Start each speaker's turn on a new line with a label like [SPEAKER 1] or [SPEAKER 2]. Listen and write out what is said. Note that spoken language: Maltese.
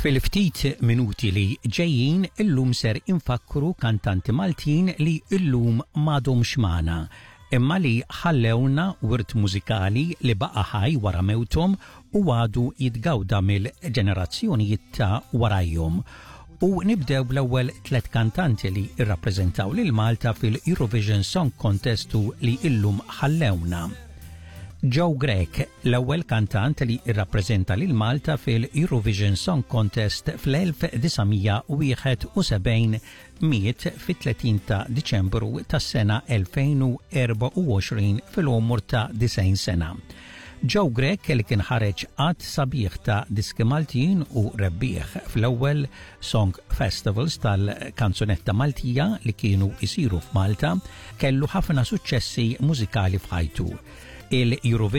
[SPEAKER 1] Fil-ftit minuti li ġejjin illum ser infakkru kantanti Maltin li illum m'għadhomx magħna, imma li ħallewna wirt mużikali li baqa' ħaj wara mewthom u għadu jitgawda mill-ġenerazzjonijiet ta' warajhom. U nibdew bl-ewwel tlet kantanti li rrappreżentaw lil Malta fil-Eurovision Song Contest u li illum ħallewna. Joe Grech, l-ewwel kantant li rrappreżenta lil Malta fil-Eurovision Song Contest fl-1971, miet fit-30 ta' Diċembru tas-sena 2024 fil-għomor ta' 90 sena. Joe Grech, li kien ħareġ għadd sabiħ ta' diski Maltin u rebbieħ fl-ewwel Song Festivals tal-kanzunetta Maltija li kienu jsiru f'Malta, kellu ħafna suċċessi mużikali f'ħajtu. Il-Eurovision